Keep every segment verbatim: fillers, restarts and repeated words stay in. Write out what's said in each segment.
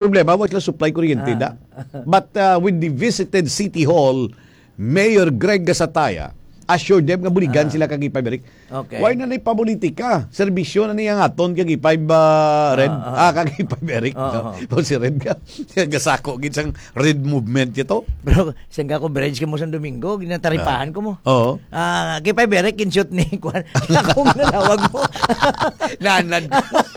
problema, wa sila supply kuryente Ah. da. But, uh, with the visited City Hall, Mayor Greg Gasataya assured them nga buligan Ah. sila kag K five Eric. Okay. Why na ni papolitika? Serbisyo na niya nga aton kag K five, uh, Red. Ah, ah. Ah, kag K five Eric. Ah, no? ah. O si Red ka. Gasako gid sang Red movement ito. Bro, sang ka coverage ka mo sa Domingo, ginataripahan Ah. ko mo. Oo. Ah, K five Eric, in-shoot ni Kwan. Akong nalawag mo. Nanad.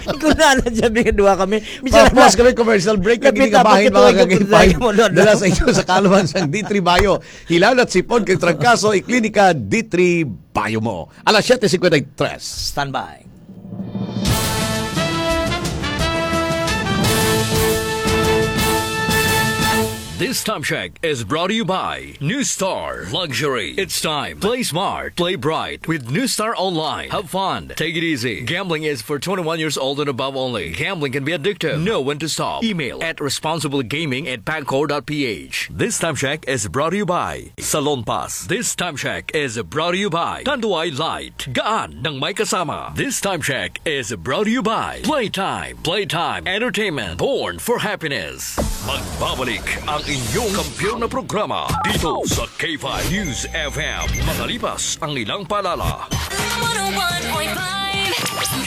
Ikaw nanad, sabi nga duha kami. Bisan Pa-, plus na kami commercial break, Kapit kini kabahin, tapos mga ito, ito, kagipay. ito, ito, ito. Dala sa inyo sa kaluhan sang D three Bayo. Hilanat sipon kag trangkaso, iklinika D three Bayo mo. Alas siyete cincuenta y tres. Standby. This time check is brought to you by New Star Luxury. It's time. Play smart, play bright with New Star Online. Have fun, take it easy. Gambling is for twenty-one years old and above only. Gambling can be addictive. Know when to stop. Email at responsiblegaming at pagcor dot ph. This time check is brought to you by Salon Pass. This time check is brought to you by Tanduay Light. Gaan ng may kasama. This time check is brought to you by Playtime. Playtime Entertainment. Born for happiness. Magbabalik ang inyong kampiyon na programa dito sa K five News F M. Makalipas ang ilang paalala. One oh one point five.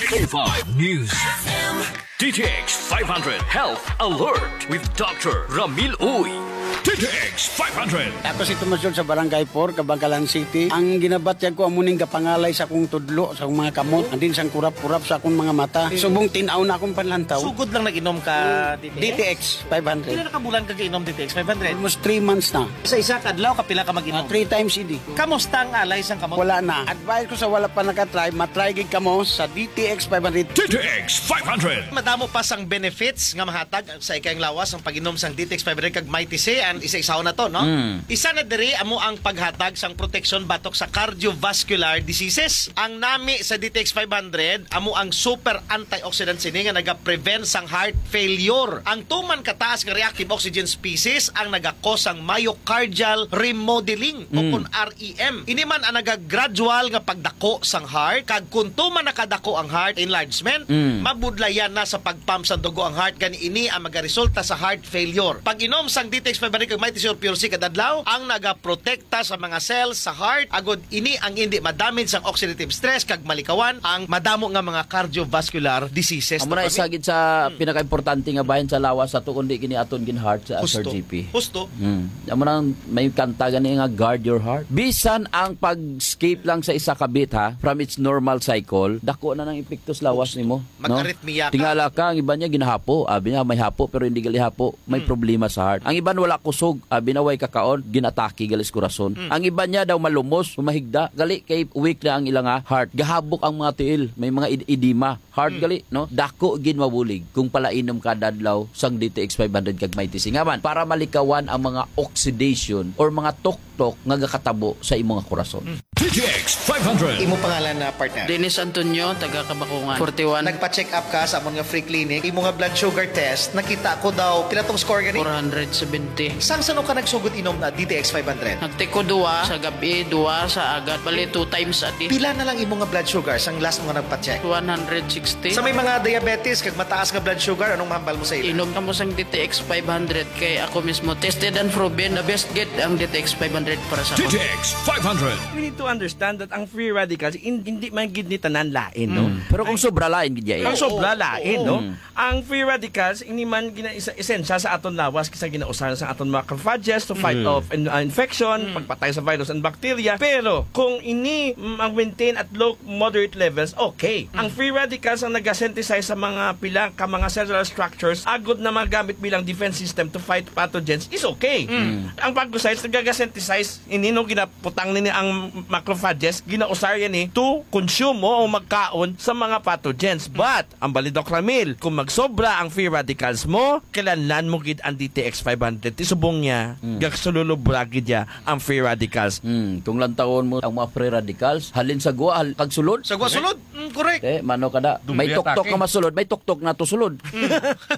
K five News. F M. D T X five hundred Health Alert with Doctor Ramil Uy. D T X five hundred. Ako si Tomas George sa Barangay four, Kabankalan City. Ang ginabatyag ko amo ning gapangalay sa akong tudlo, sa akong mga kamot, and din sang kurap-kurap sa akong mga mata. Subong tin-aw na akong panlantaw. Sugod lang nag-inom ka D T X? D T X five hundred. Pila na ka bulan ka gainom D T X five hundred? Almost three months na. Sa isa ka adlaw, kapila ka mag-inom? Ah, three times a day. Kamusta ang alay sang kamot? Wala na. Advice ko sa wala pa nakatry, matry gid kamo sa D T X five hundred. D T X five hundred. Madamo pa sang benefits nga mahatag sa ikayang lawas ang pag-inom sang D T X five hundred kag Mighty C, and isa-isaon na to, no? Mm. Isa na diri amo ang paghatag sang proteksyon batok sa cardiovascular diseases. Ang nami sa D T X five hundred amo ang super antioxidant sini nga naga-prevent sang heart failure. Ang tuman kataas nga reactive oxygen species ang naga-cause sang myocardial remodeling o Mm. kun R E M. Ini man ang naga-gradual nga pagdako sang heart, kag kun tuman nakadako ang heart, enlargement, Mm. mabudlayan na sa pag-pump sang dugo ang heart, gani ini ang magaresulta sa heart failure. Pag-inom sang D T X five hundred kag Mighty C or Pure C kada adlaw ang nagaprotekta sa mga cells sa heart, agod ini ang indi madamage sang oxidative stress kag malikawan ang madamo nga mga cardiovascular diseases. Amo na isa gid sa Mm. pinakaimportante nga bahin sa lawas sa tuon, di kini aton gin-heart sa Husto. Sir G P. Husto. Mm. Amo nang may kanta gani nga, "Guard your heart." Bisan ang pag-skip lang sa isa ka beat, ha, from its normal cycle, dako na nang epekto sa lawas nimo, no? Mag-arrhythmia ka. Tingala ka, ang iba niya ginahapo. Abi niya, may hapo, pero hindi gali hapo. May Mm. problema sa heart. Ang iban wala kusog. Abi na, way kakaon, ginatake gali sa kurason. Mm. Ang iba niya daw malumos, humahigda. Gali kay weak na ang ilang, ah, heart. Gahabok ang mga tiil. May mga ed-, edema. Heart Mm. gali, no? Dako gid mabulig kung palainom ka dadlaw sang D T X five hundred kag Mighty C. Nga man, para malikawan ang mga oxidation or mga tuktok nga gakatabo sa imong kurason. Mm. D T X five hundred. Imo pangalan na, partner? Dennis Antonio, taga Kabakungan, forty-one. Nagpa-check up ka sa amon nga free clinic. Imo nga blood sugar test, nakita ko daw, pila tong score gani? Four hundred seventy. Sang sano ka nagsugod inom na D T X five hundred? Nagtiko duwa sa gabi, duwa sa agad. Bali, two times a day. Pila na lang imo nga blood sugar sang last mo nga nagpa-check? One hundred sixty. Sa may mga diabetes kag mataas nga blood sugar, anong mahambal mo sa ila? Inom kamo sang D T X five hundred kay ako mismo tested and proven, the best gid ang D T X five hundred para sa ako. D T X five hundred. We need to understand that ang free radicals, in-, hindi man gid ni tanan lain, no? Mm. Pero kung sobra lain gid, ya, eh. Ang sobra Oo, lain, oo. No? Mm. Ang free radicals, ini man gina-, isa-, esensya sa aton lawas, kisa ginausahan sa aton macrophages to fight Mm. off in-, uh, infection, Mm. pagpatay sa virus and bacteria. Pero kung ini, mm, ang maintain at low moderate levels, okay. Ang Mm. free radicals ang nagasynthesize sa mga pila ka mga cellular structures, agod na magamit bilang defense system to fight pathogens, is okay. Mm. Ang phagocytes nagagasynthesize ini, no, ginaputang nini ang macrophages, ginausar yan, eh, to consume mo o magkaon sa mga pathogens. Mm. But ang bali, Doc Ramil, kung magsobra ang free radicals mo, kilanlan mo gid ang D T X five hundred. Ti subong niya, Mm. gagsululubra gid ya ang free radicals. Mm, kung lantawon mo ang mga free radicals, halin sa gwa, hal-, kag sulod. Sa gwa sulod. Mm, correct. Eh, mano kada, Doble may tuktok atake. Ka masulod, may tuktok na to sulod. Mm.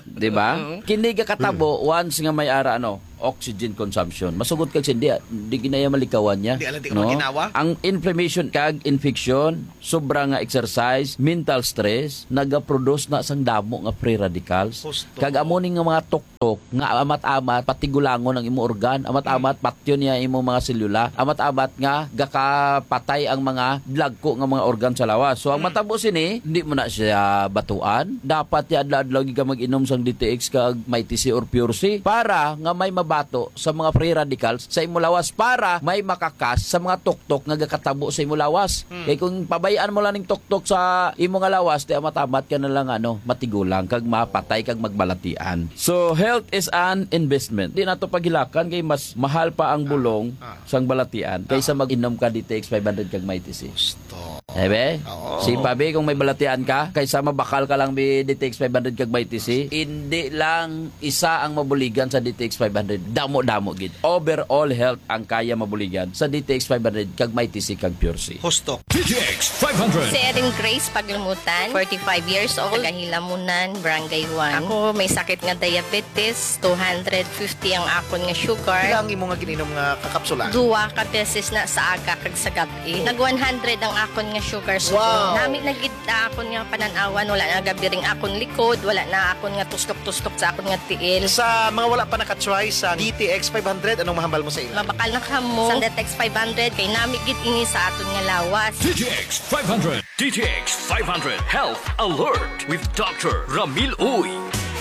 Di ba? Mm. Kini gakatabo, Mm. once nga may ara, ano, oxygen consumption. Masugot kag sindi, di ginaya malikawan niya. Di ala, di ka maginawa. Ang inflammation kag infection, sobra nga exercise, mental stress, nagaproduce na sang damo nga free radicals. Husto. Kag amo ni nga mga tuktok nga amat-amat patigulangon ang imo organ, amat-amat patyon niya imo mga selula, amat-amat nga gakapatay ang mga dagko nga mga organ sa lawas. So ang matabo sini, hindi mo na siya batuan. Dapat ya adlaw-adlaw gid ka mag-inom sang D T X kag Mighty C or Pure C para nga may mabato sa mga free radicals sa imo lawas, para may makakas sa mga tuktok nga gakatabo sa imo lawas. Kay kung pabayaan mo lang ning tuktok sa imo nga lawas, ti amat-amat ka na lang, ano, matigulang kag mapatay kag magbalatian. So, health is an investment. Di nato paghilakan kay mas mahal pa ang bulong sang balatian kaysa mag-inom ka D T X five hundred kag Mighty C. Ebe? Oo. Si Pabi, kung may balatian ka, kaysa mabakal ka lang bi D T X five hundred kag Mighty C, hindi lang isa ang mabuligan sa D T X five hundred. Damo-damo gid. Overall health ang kaya mabuligan sa D T X five hundred kag Mighty C kag Pure C. Husto. D T X five hundred. Si Erin Grace Paglumutan, forty-five years old, taga Hilamunan, Barangay one. Ako may sakit nga diabetes, two hundred fifty ang akon nga sugar. Pila ang imo nga gininom nga kakapsula? Duwa ka beses na sa aga kag sa gab-i. Nag one hundred ang akon nga sugar subong. Wow! Nami na gid na akon nga panan-awan, wala na gabiring akon likod, wala na akon nga tustok-tustok sa akon nga tiil. Sa mga wala pa naka-try sa D T X five hundred, anong mahambal mo sa ila? Mabakal na kamo sa D T X five hundred, kay nami gid ini sa aton nga lawas. D T X five hundred. D T X five hundred Health Alert with Doctor Ramil Uy.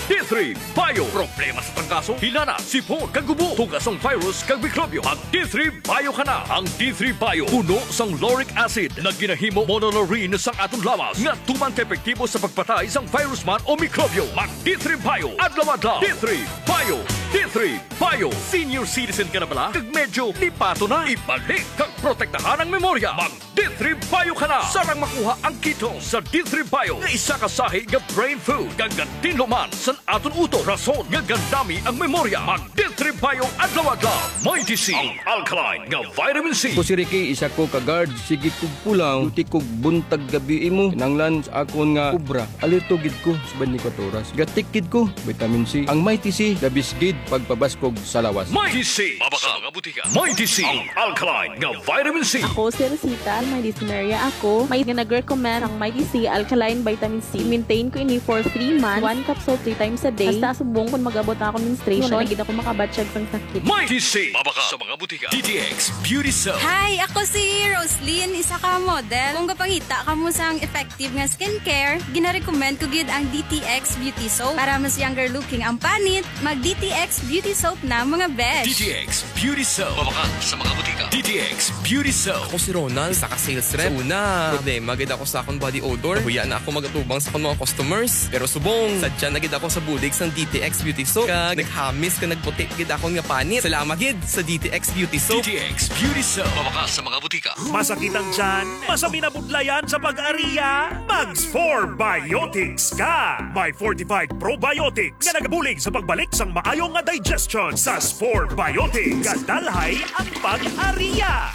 D three Bio. Problema sa trangkaso, hilana, sipon, kag gubo, tuga sang virus kag mikrobyo. Mag D three Bio ka na. Ang D three Bio puno sang lauric acid na ginahimo monolaurin sang aton lawas nga tuman ka epektibo sa pagpatay sang virus man o mikrobyo. Mag D three Bio adlaw-adlaw. D three Bio. D three Bio. Senior citizen ka na bala? Kag medyo lipato na? Ibalik kag protektahan ang memorya. Mag D three Bio ka na. Sarang makuha ang Kitos sa D three Bio nga isa ka sahi nga brain food, kag gatinlo man san aton utok, rason nga gandami ang memorya. Mag D three Bio adlaw-adlaw. Mighty C, ang alkaline nga vitamin C. Ako si Ricky, isa ko ka guard. Sige kog pulaw, duty kog buntag gabi imo. Kinahanglan sa akon nga obra, alerto gid ko sa twenty-four oras. Gatik gid ko, vitamin C. Ang Mighty C, the best gid pagpabaskog sa lawas. Mighty C. Mabakal sa mga butika. Mighty C, ang alkaline nga vitamin C. Ako si Rosita, may dysmenorrhea ako. May nga nag-recommend ang Mighty C alkaline vitamin C. Maintain ko ini for three months. One capsule three times a day. Hasta subong kung mag-abot na akong menstruation, wala na gid ako makabatyag sang sakit. Mighty C. Mabakal sa mga butika. D T X Beauty Soap. Hi, ako si Roslyn, isa ka model. Kung gapangita kamo sang effective nga skincare, ginarecommend ko gid ang D T X Beauty Soap. Para mas younger looking ang panit, mag D T X Beauty Soap na, mga best. D T X Beauty Soap. Mabakal sa mga butika. D T X Beauty Soap. Ako si Ronald, isa ka sales rep. Sa una, problema gid ako sa akong body odor. Nahuya na ako magatubang sa akong mga customers. Pero subong, sadya na gid ako sa bulig sang D T X Beauty Soap. Kag naghamis kag nagputi gid akon nga panit. Salamat gid sa D T X Beauty Soap. D T X Beauty Soap. Mabakal sa mga butika. Masakit ang tiyan? Masami na budlayan sa pag-ariya? Mag Spore Biotics ka! May fortified probiotics nga nagabulig sa pagbalik sang maayo nga digestion sa Spore Biotics. Gadalhay ang pag-ariya!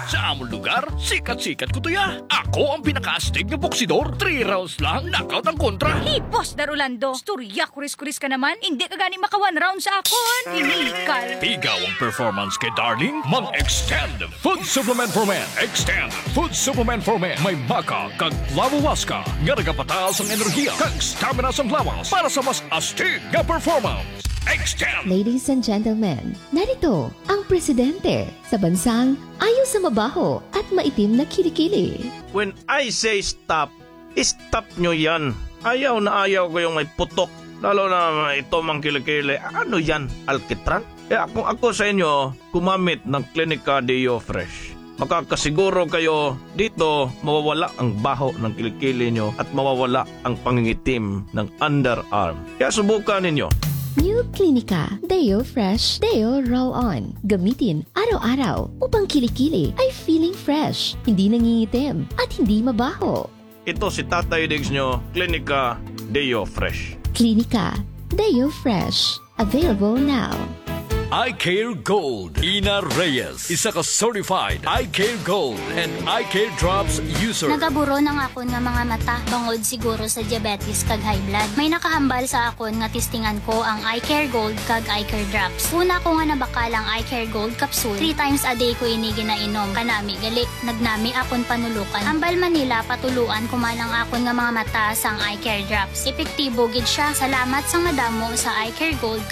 Sa amon lugar, sikat-sikat ko to ya. Ako ang pinakaastig nga boksidor. Three rounds lang, knockout ang kontra. Hey, Boss Dar Orlando, istorya kuris-kuris ka naman. Hindi ka gani maka one round sa akon. Iniikal. Pigaw ang performance kay Darling? Mag-Extend Food Supplement for Men. Extend Food Supplement for Men. May maca kag flavowaska nga nagapataas ang enerhiya kag stamina sang lawas para sa mas astig nga performance. Extend! Ladies and gentlemen, narito ang presidente sa bansang ayaw sa mabaho at maitim na kilikili. When I say stop, stop nyo yan. Ayaw na ayaw ko yung may putok. Lalo na ito, mga kilikili. Ano yan? Alkitran? Kaya kung ako sa inyo, gumamit ng Clinica Deo Fresh. Makakasiguro kayo dito mawawala ang baho ng kilikili nyo at mawawala ang pangingitim ng underarm. Kaya subukan ninyo. New Clinica Deo Fresh Deo Roll On. Gamitin araw-araw upang kilikili ay feeling fresh, hindi nangingitim, at hindi mabaho. Ito si Tatay Diggs nyo, Clinica Deo Fresh. Clinica Deo Fresh. Available now. Eye Care Gold. Ina Reyes, isa ka certified Eye Care Gold and Eye Care Drops user. Nagaburon ang akon nga mga mata bangod siguro sa diabetes kag high blood. May nakahambal sa akon nga testingan ko ang Eye Care Gold kag Eye Care Drops. Una ko nga nabakal ang Eye Care Gold capsule, three times a day ko ini ginainom. Kanami gali, nagnami akon panulukan. Hambal man nila patuluan ko man ang akon nga mga mata sang Eye Care Drops. Epektibo gid siya. Salamat sang madamo sa Eye Care Gold